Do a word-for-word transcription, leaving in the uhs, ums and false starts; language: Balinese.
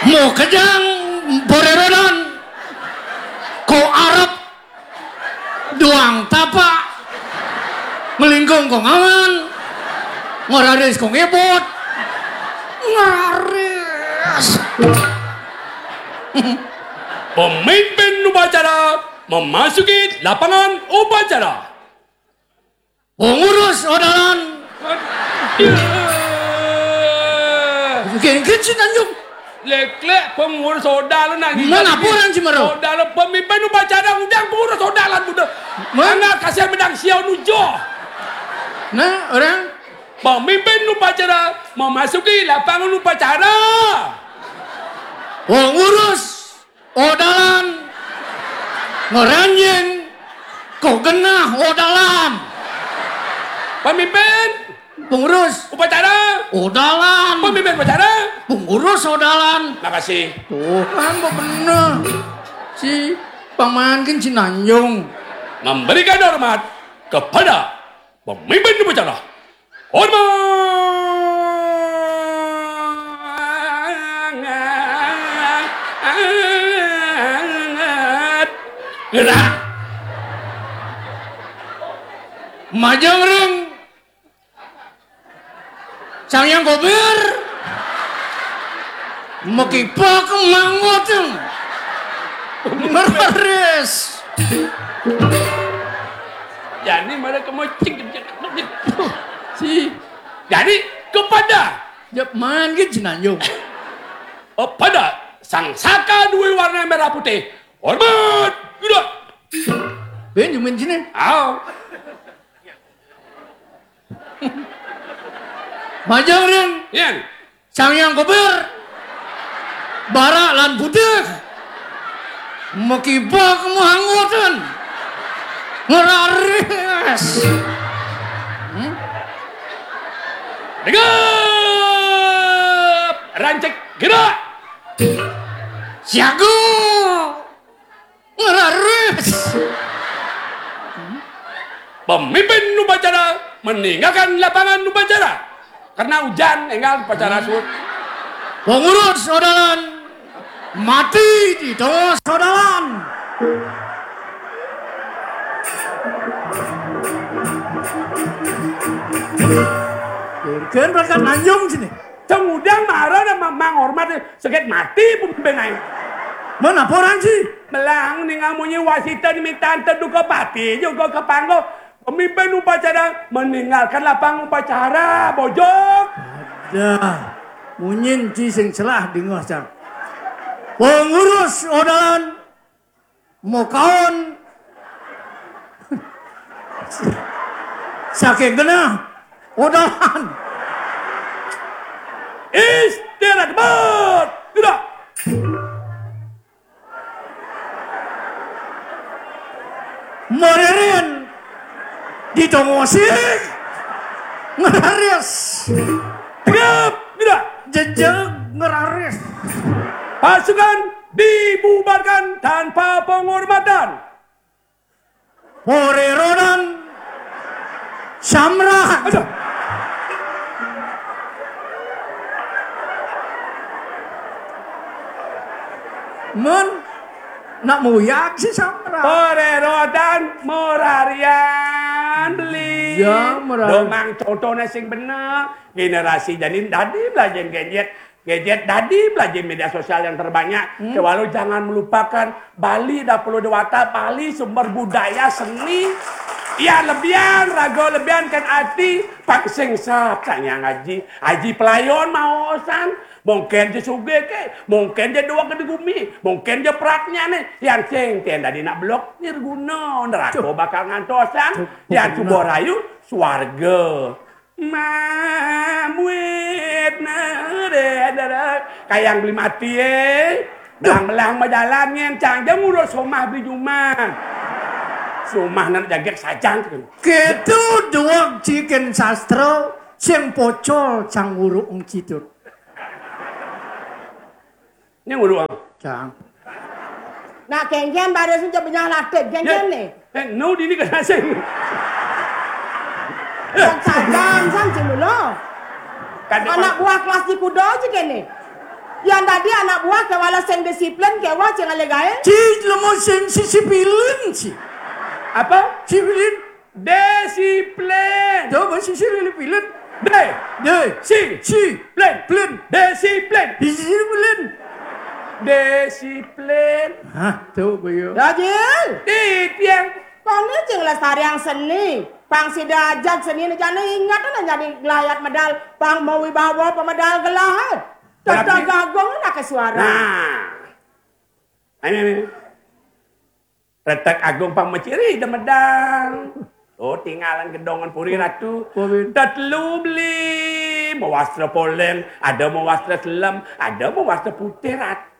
Mo kejang, Pore Rodan. Ko arep doang tapak. Melingkung ko ngangan. Ngeraris ko ngebot. Ngeraris. Pemimpin upacara memasuki lapangan upacara. Pengurus odalan. Genggen si Tanjung. Leklek pengurus odalan nak. Mana orang si maro? Odalan pemimpin upacara, ujang pengurus odalan budak. Mana? Anggar kasih bedang siau nujo. Nah, orang. Pemimpin upacara memasuki lapangan upacara. Pengurus odalan. Ngeranjing. Kok genah odalan. Pemimpin. Pengurus. Upacara. Odalan. Pemimpin upacara. Pengurus odalan. Makasih. Tuh kan bener. Si paman kan si Nanjung. Memberikan hormat kepada pemimpin upacara. Hormat. Gerak. Majeng ring. Sang Hyang Kober. Mekipak manguteng. Mereres. Jani malah kemocing. Si. Jadi kepada. Jep man gitu Sinanjung. Kepada sang saka dua warna merah putih. Hormat. Gerak. Benjamin sini. Au. Majeng ring. Yang. Sang Hyang Kober. Barak lan putih. Mekipak manguteng. Ngeraris. Hmm? Tegap. Rancik gerak. Siaga. Ngeraris. Pemimpin upacara meninggalkan lapangan upacara karena hujan, enggal upacara suut. Pengurus odalan mati di tengah odalan. Kan berangkat Nanjung sini. Cengudang marah dan mang hormat. Sakit mati pemimpin aing. Mana orang sih? Belang ning amunyi wasita dimintaan teduh ka pati juga ka panggo. Pemimpin upacara meninggalkan lapang upacara, bojok. Ada. Munyin ci sing selah dingeh sang. Pengurus odalan mokaon. Saking genah odalan. Istirahat. Tidak. Meririn. Ditongosik. Ngeraris. Tegap. Tidak. Jejeg ngeraris. Pasukan dibubarkan tanpa penghormatan. Pore Rodan. Samrat. Aduh. Mun nak muyak si Samrat. Pore Rodan merarian beli. Ya, merarian. Domang contohnya sing bener. Generasi jadi dadi belajar gadget. Gadget dadi belajar media sosial yang terbanyak. Hmm. Walau jangan melupakan Bali dapur dewata, Bali sumber budaya seni. Ya lebihan, raga lebihan kan ati, pangsing sap, sanya ngaji. Aji pelayon maosan, mungkin je suge ke, mungkin je dua gede gumi, mungkin je pratnya nih, yang sing tian dadi nak blok, nirguna, neraka bakal ngantosan, yang coba rayu, swarga. Mamuit nere dere kayang beli mati eh. Belang-belang majalan ngencang jang urus somah beli jumah. Somah nan jagek sajang tu. Kitu dua cikin sastra sing pocol sang guru ung citut. Nya ngulu ang. Cang. Nak genggen baru sing benyah ladek genggen nih. Eh, no dini kena sing. Yang sadang sang cemula. Anak buah kelas di kuda aja kene. Yan dadi anak buah kéwala sing disiplin, kéwala sing ngalih gaé. Ci lemu sing sisipilin ci. Apa? Sipilin. Disiplin. Coba sisipilin. Dé. Dé. Si. Si. Plin. Plin. Disiplin. Disiplin. Disiplin. Hah, tuh, Bu, yo. Dajil. Titiang. Koné cing lestariang seni. Pang sida ajak seni né jani inget né jani nglayat medal. Pang mawibawa pamedal gelah. Teteg Agung nak suara. Nah. Ayo, ayo. Teteg Agung pang maciri demedang. Oh, tinggalan gedongan Puri Ratu. Tetelu beli, mawastra poleng, ada mawastra selem, ada mawastra putih Ratu.